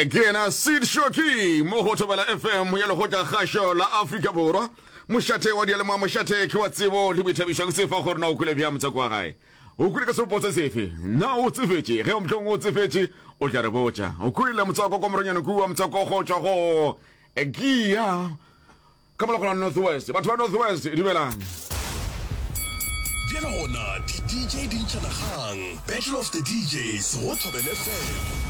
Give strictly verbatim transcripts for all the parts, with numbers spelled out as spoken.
Ke yena Sid Shoki mo go Thobela F M ya Lekgotla Kgašo la Afrika Borwa. Mošate wa diyalemoya, mošate ke wa tsebo le boithabišo. Ke sefa gore na o kwele bjang motswako wa gae. O kwele ka seropo se sefe? Na o tsefetše? Ge mohlomongwe o tsefetše, o tla re botša. O kwele motswako kwa moronyane kua, motswako go tšwa go Gia ka mola go la North West. Batho ba North West, dumelang. Bjale gona di D J di ntšhana kgang. Battle of the D Js go Thobela F M.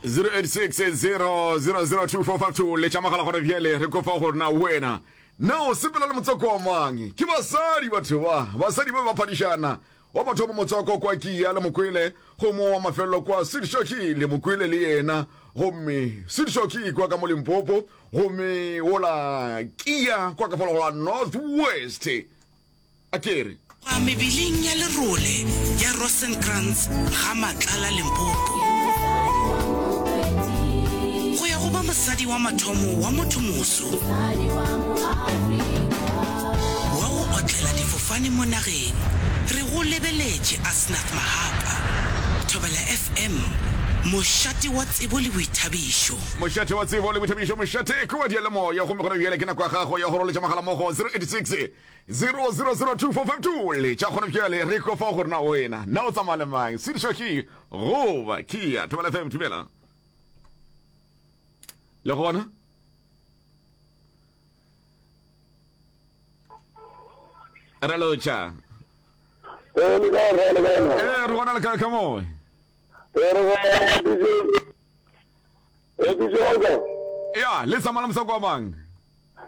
zero eight six zero zero zero two four five two, letša mogala gona bjale, re kopa gore na wena na o sepela le motswako wa mang. Ke basadi, batho ba basadi ba ba phadišana. Wa mathomo motswako kwa Kia le Mokwele, gomme wa mafelelo kwa Sedišoki le Mokwele le yena, gomme Sedišoki kwa ka mo Limpopo, gomme wola Kia kwa ka fala go la North West, a kere. Kwa mebileng ya lerole ya Rosenkrantz ga Matlala Limpopo. Go ya go ba mosadi wa mathomo wa mothomoso wa go otlela difofane mo nageng. Re go lebeletše, Asnath Mahapa. Thobela F M, mošate wa tsebo le boithabišo. Mošate wa tsebo le boithabišo, mošate ke wa diyalemoya, gomme gona bjale ke nako ya gago ya go roletša mogala mo go zero eight six zero zero zero two four five two. Letša gona bjale, re ko fa gore na wena na o tsamaya le mang, Sedišoki goba Kia. Thobela F M, dumela le gona. Re lotša. Ee, le kae, re le kae? Ee, re gona, le kae ka moe? Ee, re gona, D J. Ee, D J Olga. Ya, le tsamaya le motswako wa mang?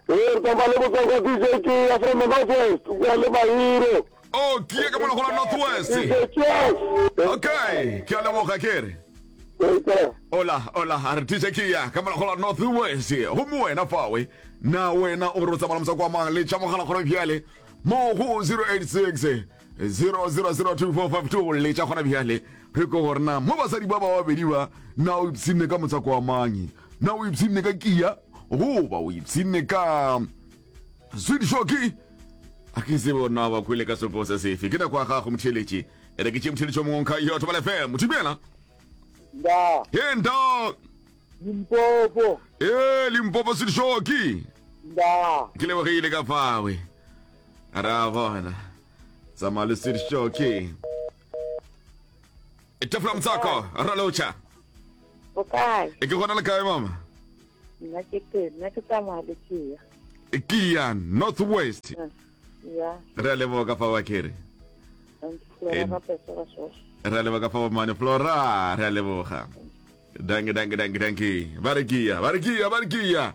Ee, re tsamaya le motswako D J ke ya from the North West, kwa le Mahiro. Oh, ke ye ka mola go la North West. D J Cheers. Okay, ke a leboga, ke re. Ee, ke. Ola, ola, a re D J ke ya ka mola go la North West. Gomme wena fawe, na wena o re o tsamaya le motswako wa mang? Letša mogala gona bjale mo go zero eight six zero zero zero two four five two, letša gona bjale, re ko gore na mo basadi ba ba babedi ba, na o ipshinne ka motswako wa mang? Na o ipshinne ka Kia goba o ipshinne ka Sweet Shoki? A ke tsebe gore na ba kwele ka sepo se sefe. Ke nako ya gago, motheeletši. E re ke tšee motheeletši o mongwe nka yo. Thobela F M, dumela. Nda. He, nda. Limpopo. Ee, Limpopo, Sweet Shoki. Nda. Ke lebogile ka fawe, ra bona tsamaya le Sweet Shoki. Tafola motswako, ralotšha. O kae? E, ke gona, le kae, mama? Nna ke teng, nna ke tsamaya le Kia. Kia, North West. Ya. Re a leboga ka fa wa kere. Flora ka Pesora Sosh. Re a leboga ka fa mane Flora, re a leboga. Danke, danke, danke, danke. Ba re Kia, ba re Kia, ba re Kia.